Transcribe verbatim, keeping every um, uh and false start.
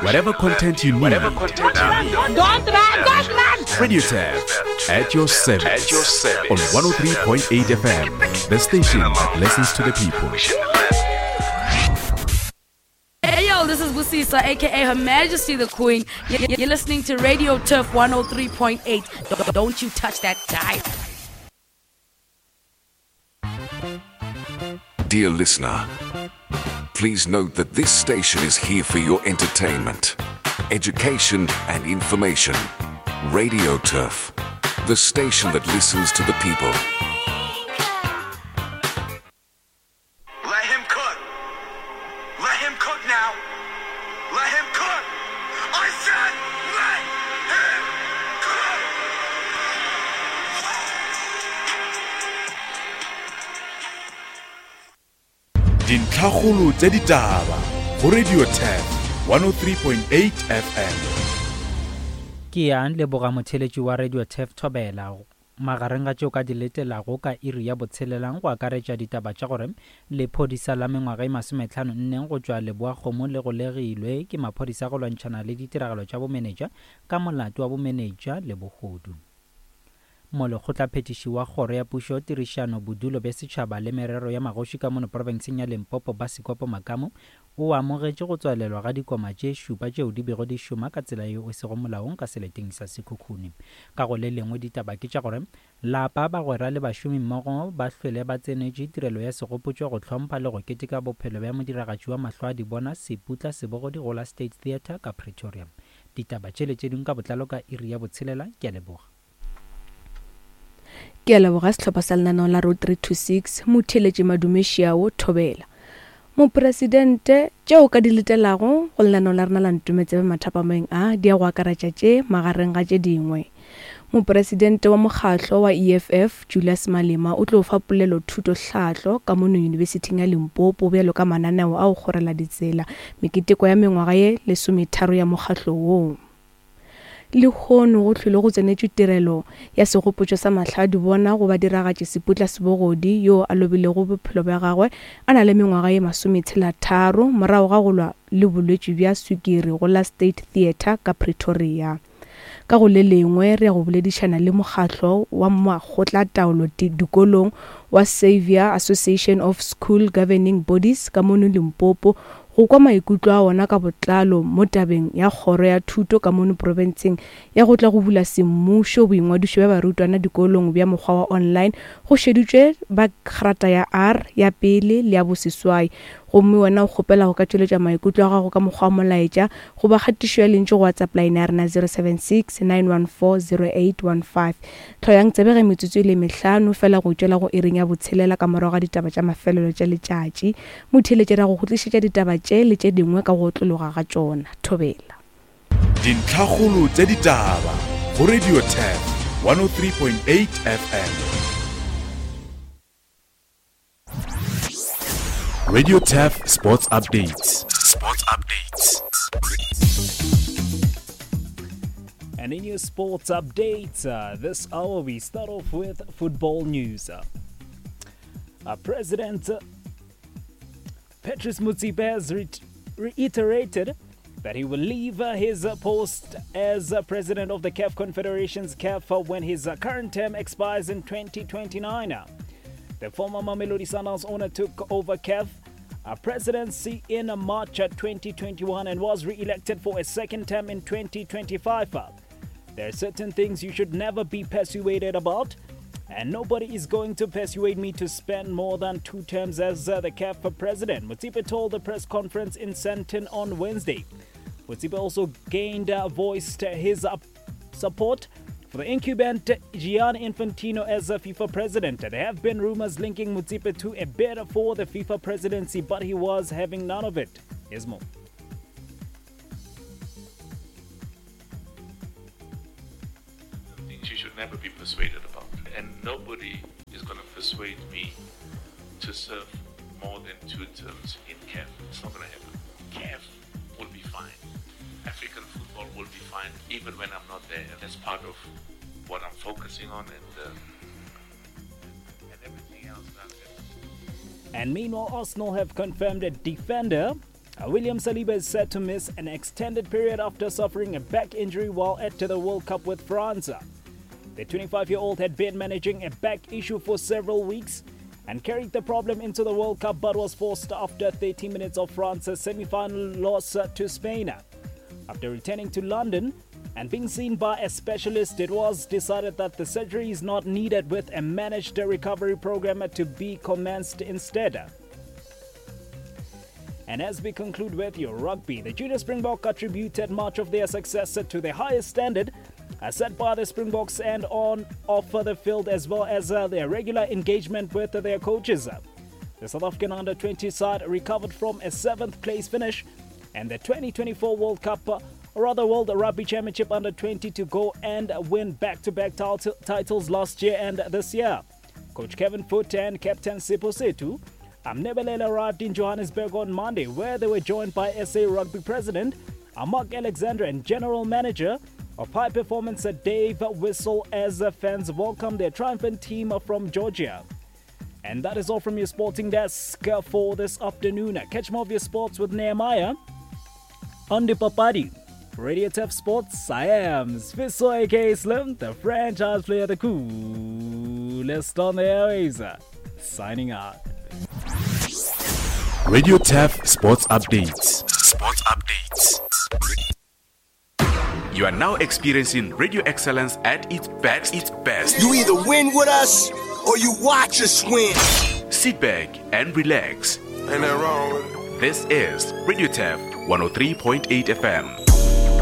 Whatever content you need. Whatever content you need. Don't run, don't run! Radio Turf at your service. At your service. On one oh three point eight F M, the station that listens to the people. Hey yo, this is Busisa, aka Her Majesty the Queen. You're listening to Radio Turf one oh three point eight. Don't you touch that dial. Dear listener, please note that this station is here for your entertainment, education and information. Radio Turf, the station that listens to the people. Let him cook. Let him cook now. Let him cook. I said let him cook. Dintlhakgolo tša ditaba go Radio Turf one oh three point eight F M. Ke ya leboga motheletši wa Radio Turf Thobela. Magareng ga tšeo ka di letelago ka iri ya botshelelang go akaretša ditaba tša gore lephodisa la mengwaga e masometlhano nne go tšwa Leboa-Kgomo le golegilwe ke maphodisa go lwantšhana le ditiragalo tša bomenetša ka molato wa bomenetša le bohodu. Molekgotlaphethiši wa kgoro ya pušo tirišano bodulo bja setšhaba le merero ya magoši ka mono profenseng ya Limpopo Basikopo Makamu o amogetše go tswalelwa ga dikoma tše šupa tšeo di bego di šoma ka tsela yeo e sego molaong ka seleteng sa Sekhukhune. Ka go le lengwe ditaba ke tša gore lapa bagwera le bašomi mmogo ba hlwele ba tsenetše tirelo ya segopotšo go hlompha le go keteka bophelo bja modiragatši wa mahlo a dibona Seputla Sebogodi go la State Theatre ka Pretoria. Ditaba tšele tše dingwe ka botlalo ka iri ya botshelela. Ke a leboga. Ke a leboga sehlopha sa lenaneo la Road three two six motheletši Madumešiao Thobela. Mopresidente tšeo ka di letelago go lenaneo la rena la Ntometsebe mathapameng a di ya go akaretša tše magareng ga tše dingwe. Mopresidente wa mokgatlo wa E F F Julius Malema o tlo fa polelo thuto hlahlo ka mono Yunibesithing ya Limpopo bjalo ka mananeo a go kgorela ditsela meketeko ya mengwaga ye lesometharo ya mokgatlo woo. Lehono go hlwele go tsenetšwe tirelo ya segopotšo sa mahladibona go badiragatši Seputla Sebogodi yo a lobilego bophelo bja gagwe a na le mengwaga ye masometshela-tharo morago ga go lwa le bolwetši bja swikiri go la State Theatre ka Pretoria. Ka go le lengwe re ya go boledišana le mokgatlo wa makgotlataolo dikolong wa Xavier Association of School Governing Bodies ka mono Limpopo go kwa maikutlo a ona ka botlalo mo tabeng ya kgoro ya thuto ka mono profenseng ya go tla go bula semmušo boingwadišo bja barutwana dikolong bja mokgwa wa online go šeditšwe ba grata ya R ya pele le ya boseswai. Gomme wena o kgopela go ka tšweletša maikutlo a gago ka mokgwa wa molaetša goba kgatišo ya lentšu go WhatsApp line ya rena zero seven six nine one four zero eight one five. Hloyang tsebe ge metsotso e le mehlano fela go tšwela go iring ya botshelela ka morago ga ditaba tša mafelelo tša letšatši. Motheletši ra go go tlišetša ditaba tše le tše dingwe ka go otlologa ga tšona. Thobela. Dintlhakgolo tša ditaba go Radio Turf one oh three point eight F M. Radio Turf Sports Updates. Sports Updates. And in your sports updates, uh, this hour we start off with football news. Uh, uh, President uh, Patrice Motsepe has re- reiterated that he will leave uh, his uh, post as uh, president of the C A F Confederation's C A F uh, when his uh, current term expires in twenty twenty-nine. Uh, the former Mamelodi Sundowns owner took over C A F uh, presidency in uh, March uh, twenty twenty-one and was re-elected for a second term in twenty twenty-five. Uh, there are certain things you should never be persuaded about, and nobody is going to persuade me to spend more than two terms as uh, the C A F president, Motsepe told the press conference in Sandton on Wednesday. Motsepe also gained uh, voiced his uh, support for the incumbent Gianni Infantino as a FIFA president. There have been rumors linking Motsepe to a bid for the FIFA presidency, but he was having none of it. Here's more. Things you should never be persuaded about, and nobody is gonna persuade me to serve more than two terms in C A F. It's not gonna happen. C A F will be fine. African football will be fine even when I'm not there. And that's part of what I'm focusing on and, uh, and everything else. And meanwhile, Arsenal have confirmed a defender Uh, William Saliba is set to miss an extended period after suffering a back injury while at the World Cup with France. The twenty-five-year-old had been managing a back issue for several weeks and carried the problem into the World Cup, but was forced after thirty minutes of France's semi-final loss to Spain. After returning to London and being seen by a specialist, it was decided that the surgery is not needed, with a managed recovery program to be commenced instead. And as we conclude with your rugby, the Junior Springbok attributed much of their success to the highest standard set by the Springboks and on off the field, as well as uh, their regular engagement with their coaches. The South African under twenty side recovered from a seventh place finish and the twenty twenty-four World Cup, or rather World Rugby Championship under twenty, to go and win back-to-back titles last year and this year. Coach Kevin Foote and Captain Sipho Setu Mnebelele arrived in Johannesburg on Monday, where they were joined by S A Rugby President Mark Alexander and General Manager of High Performance Dave Whistle, as fans welcome their triumphant team from Georgia. And that is all from your sporting desk for this afternoon. Catch more of your sports with Nehemiah on the Papadi. Radio Turf Sports, I am Sfiso aka Slim, the franchise player, the coolest on the airways. Signing out. Radio Turf Sports Updates. Sports Updates. You are now experiencing radio excellence at its best. Its best. You either win with us or you watch us win. Sit back and relax. Ain't that wrong with it? This is Radio Turf one oh three point eight F M.